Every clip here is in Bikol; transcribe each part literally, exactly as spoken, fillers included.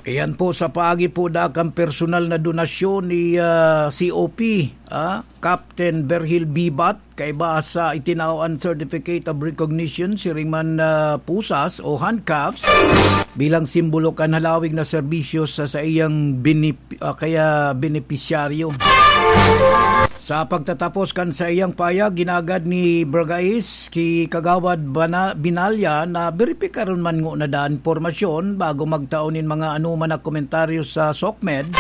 Iyan po sa paagi po dakang personal na donasyon ni, ah, C O P, ah, Captain Berhil Bibat, kaiba sa itinao an Certificate of Recognition, siring man, ah, pusas o handcuffs, bilang simbolo kan halawig na serbisyo sa saiyang binip-, ah, kaya benepisyaryo. Sa pagtatapos kan saiyang payag, ginagad ni Bragais ki Kagawad Bana-, Binalya na beripikaron man ngona daa an impormasyon bago magtao nin mga anoman na komentaryo sa SOCMED,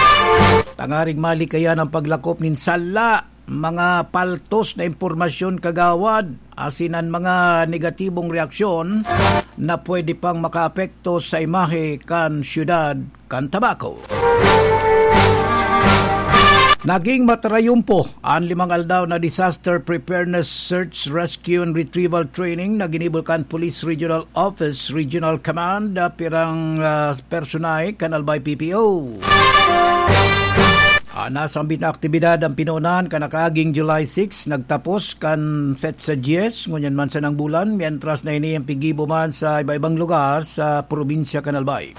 tangaring malikayan an paglakop nin sala, mga paltos na impormasyon, Kagawad, asin an mga negatibong reaksyon na pwede pang makaapekto sa imahe kan syudad kan Tabaco. Naging matarayumpo an limang aldaw na Disaster Preparedness Search, Rescue and Retrieval Training na ginibo kan Police Regional Office, Regional Command, ah, pirang, ah, personahe kan Albay P P O. An nasambit na aktibidad an pinoonan kan nakaaging July six, nagtapos kan petsa dyes, ngunyan man sanang bulan, mientras na ini an piggibo man sa iba-ibang lugar sa probinsya kan Albay.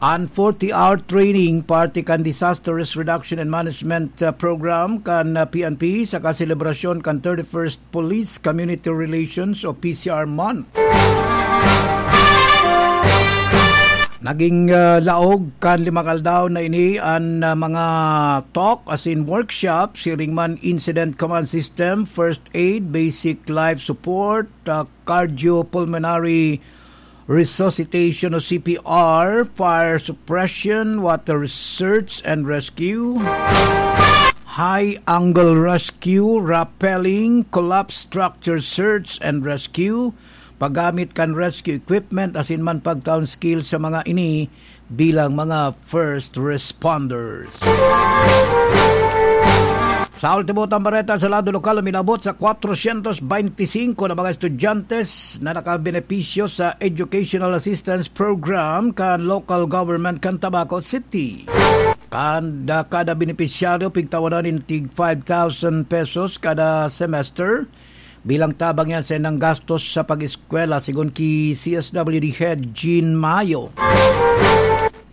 An forty-hour training, parte kan Disaster Risk Reduction and Management, uh, Program kan, uh, P N P, saka selebrasyon kan thirty-first Police Community Relations o P C R Month. Naging, uh, laog kan limang aldaw na ini an, uh, mga talk, asin workshop, siring man incident command system, first aid, basic life support, uh, cardiopulmonary resuscitation o C P R, fire suppression, water search and rescue, high angle rescue, rappelling, collapse structure search and rescue, paggamit kan rescue equipment, asin man pagtaon skill sa mga ini bilang mga first responders. Sa ultimo tang bareta sa lado lokal, uminabot sa kwatrosyentos beintisinko na mga estudyante na nakabenepisyo sa Educational Assistance Program kan local government kan Tabaco City. Kada, kada benepisyaryo pigtawanan nin tig five thousand pesos kada semester. Bilang tabang yan sa indang gastos sa pag-eskwela, sigon ki C S W D Head Jean Mayo.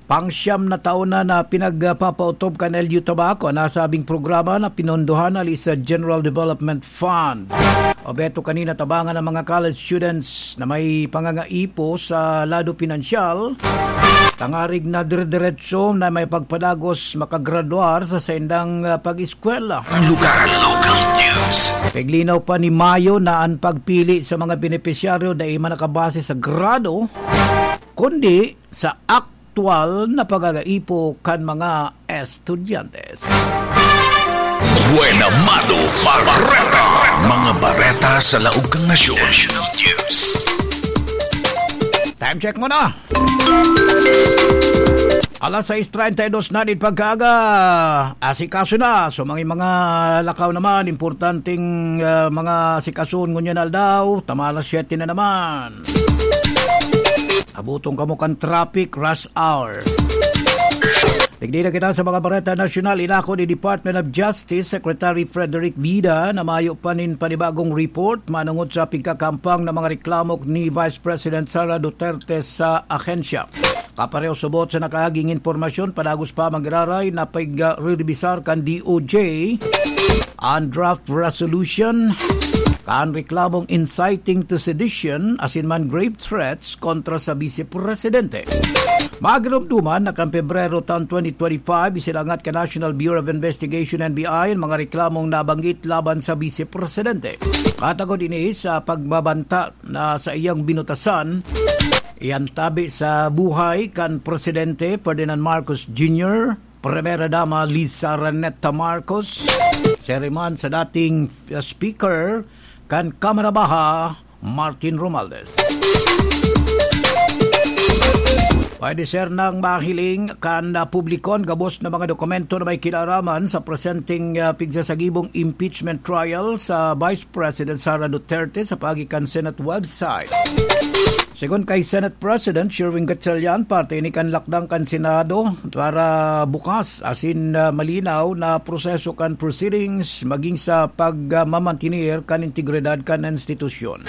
Pangsyam na taon na, na pinagpapautob kan L G U Tabaco an nasabing programa na pinondohan hali sa General Development Fund. Obheto kan ini na tabangan ang mga college students na may pangangaipo sa lado pinansyal, tangaring na dire-diretso na may pagpadagos makagraduar sa saindang, ah, pag-eskwela. Local, local news. Piglinaw pa ni Mayo na an pagpili sa mga benepisyaryo dai man nakabase sa grado, kundi sa aktuwal na pagagaipo kan mga estudyante. Buena Mano Bareta. Mga bareta sa laog kan nasyon. National News. Time check muna. Alas sais treinta y dos na nin pagkaaga. Asikaso na. So, mga, mga lakaw naman, importanteng, ah, mga asikason ngunyan aldaw. Tama alas siyete na naman. Abutong kamo kan traffic rush hour. Tigdi na kita sa mga bareta nasyonal. Inako ni Department of Justice Secretary Frederick Vida na mayo pa nin panibagong report manungod sa pigkakampang na mga reklamo ni Vice President Sara Duterte sa ahensya. Kapareho subot sa nakaaging impormasyon, padagos pa magiraray na pag-, ah, rerebisar kan D O J an draft resolution kan reklamong inciting to sedition asin man grave threats kontra sa Vice Presidente. Magdumduman na kan Pebrero taon twenty twenty-five, isilangat kan National Bureau of Investigation, N B I, an mga reklamong nabanggit laban sa Vice Presidente. Katagod ini sa pagbabanta na saiyang binutasan, iyan tabi sa buhay kan Presidente Ferdinand Marcos Junior, Primera Dama Liza Raneta Marcos, siring man sa dating, uh, Speaker kan Kamara Baha, Martin Romualdez. Pwede ser nang mahiling kan, uh, publiko an gabos na mga dokumento na may kinaraman sa presenteng, uh, pigsasagibong impeachment trial sa Vice President Sara Duterte sa paagi kan Senate website. Sigon kay Senate President Sherwin Gatchalian, parte ini kan lakdang kan Senado para bukas asin, ah, malinaw na proseso kan proceedings magin sa pagmamantener kan integridad kan institusyon.